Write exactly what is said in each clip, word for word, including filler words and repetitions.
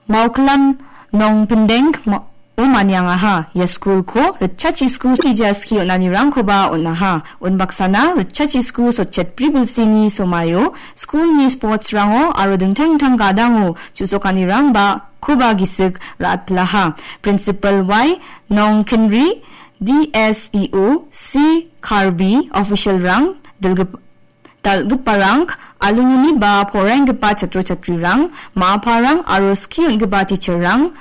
Maukilam Nongpindeng ma-, o maniangaha. Ia skulko ritchachisku sija skie on·anirangkoba on·aha. Unbaksana ritchachisku sotchetbri bilsini somaio skulni sportsrango aro dingtang dingtang gadango chu·sokanirangba koba gisik ra·atpilaha. Principal Y Nongkinri D S E O C Karbi officialrang dilgip-, dal·giparang, alumni ba poraienggipa chatro chatrirang, ma·aparang aro skie on·gipa teacherrang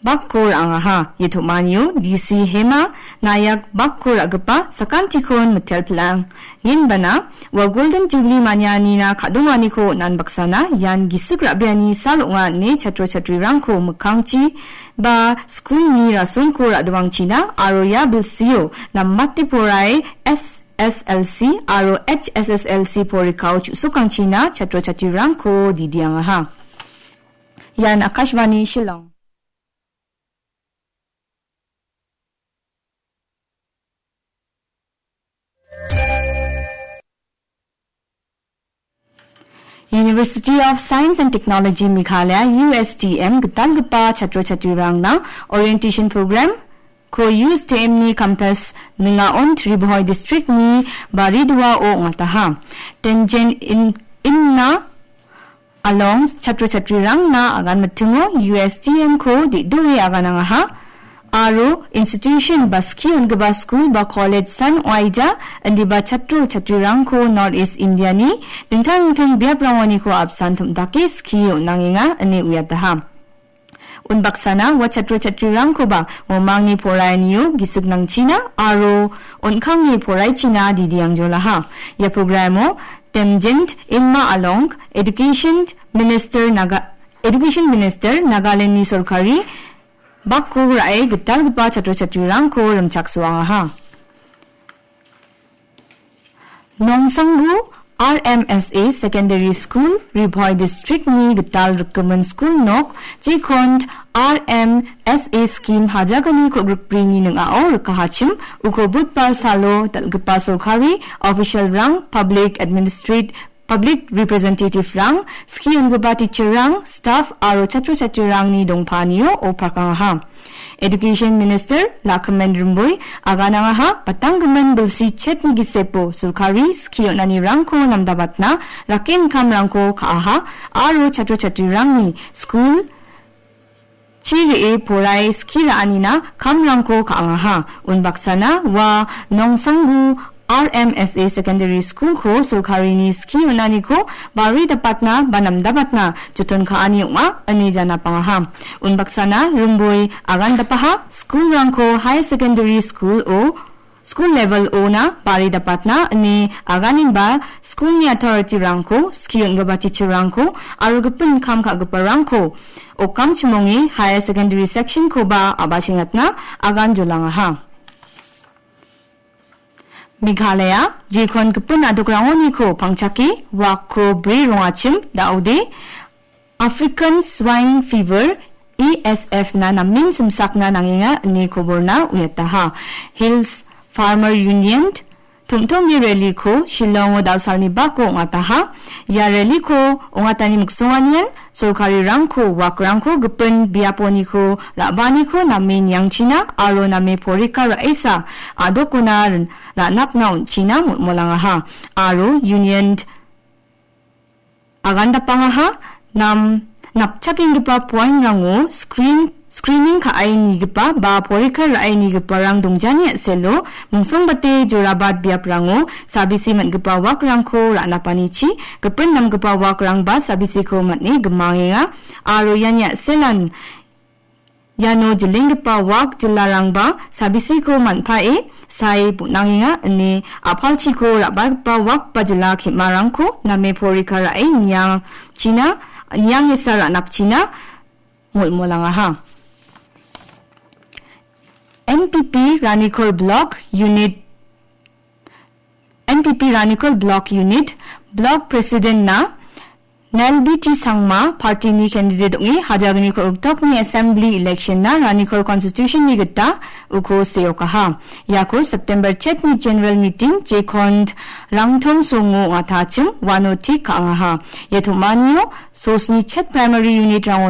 bakko ra·angaha. Ia tom·anio D C Hema Nayak bakko ra·gipa sakantikon mitelpilang. Ngenbana, ua Golden Jubilee manianina ka·donganiko on·an baksana ian gisik ra·biani sal ong·a ine chatro chatrirangko mikkangchi ba skulni rasongko ra·doangchina aro ia bilsio namate porai S S L C aro H S S L C porikao chu·sokangchina chatro chatrirangko didiangaha. Ian Akashvani Shillong. University of Science and Technology Meghalaya, U S T M, gitalgipa chatro chatrirangna orientation program ko U S T M ni campus ning·aon Ri Bhoi district ni Baridoa-o ong·ataha. Tenjen in, inna along chatro chatrirangna agan mitingo U S T M ko de·doe aganangaha. Aro institution ba skie on·gipa skul ba college san oaija indiba chatro chatrirangko North East India-ni dingtang dingtang biaprangoniko apsan tom·dake skie on·angenga ine uiataha. Unbaksana ua chatro chatrirangkoba uamangni poraianio gisik nangchina aro on·kangni poraichina didiangjolaha. Ia programo Temjent Inma Along Education Minister Naga-, Education Minister Nagaland-ni sorkari bakko ra·e gitalgipa chatro chatrirangko rimchaksoangaha. Nongsanggu R M S A Secondary School, Ri Bhoi District-ni gital rikgimin skul nok, jekon R M S A scheme hajagni ko·grikbrini ning·ao rikahachim, uko budbar salo dal·gipa sorkari official-rang, public administrate-, public representative-rang, skie on·gipa teacher-rang, staff aro chatro chatrirangni dongpaanio oparkangaha. Education Minister Lakhiman Rimboi aganangaha, batanggimin bilsi chetni gisepo sorkari skie on·anirangko namdabatna rake inkamrangko ka·aha aro chatro chatrirangni skul chi re·e porae skie ra·anina kamrangko ka·angaha. Unbaksana ua Nongsanggu R M S A Secondary School-ko sorkarini skie on·aniko bari dapatna ba namdabatna joton ka·ani ong·a ine janapangaha. Unbaksana Rimboi agandapaha skulrangko higher secondary school-o, school level-ona bari dapatna ine aganenba skulni authority-rangko, skie on·gipa teacher-rangko aro gipin kam ka·giparangko okam chimonge higher secondary section-koba a·bachengatna agan jolangaha. Meghalaya, jekon gipin a·dokrangoniko pangchake, wakko bri rongachim, da·ode, African Swine Fever, A S F na namen simsakna nangenga ine koborna uiataha. Hills Farmer Union, tom·tomni rally-ko Shillongo dal·salni bako ong·ataha. Ia rally-ko ong·atani miksonganian, sorkarirangko wakrangko gipin biaponiko ra·baaniko name niangchina aro name porika ra·esa a·dokona rin-, ra·napna on·china molmolangaha. Aro Union agandapangaha, nam-, napchakenggipa poinrango screen-, screening ka·ainigipa ba porika ra·ainigiparang dongjani a·selo mingsongbate jorabat biaprango sabisi man·gipa wakrangko ra·napanichi gipin namgipa wakrangba sabisiko man·e gimangenga aro iani a·selan iano jilenggipa wak jilarangba sabisiko man·pae sae bonangenga ine a·palchiko ra·bagipa wak ba jila ke·marangko name porika ra·e niangchina, niangesa ra·napchina molmolangaha. N P P Ranikol Block Unit N P P Ranikol Block Unit Block President-na Nelbiti Sangma party-ni candidate ong·e hajagni kol·riktokni assembly election-na Ranikol constitution-ni gita uko seokaha. Iako September chetni general meeting jekon Rangtong Songo ong·atachim uano tik ka·angaha. Ia tom·anio sosni chet primary unit-rango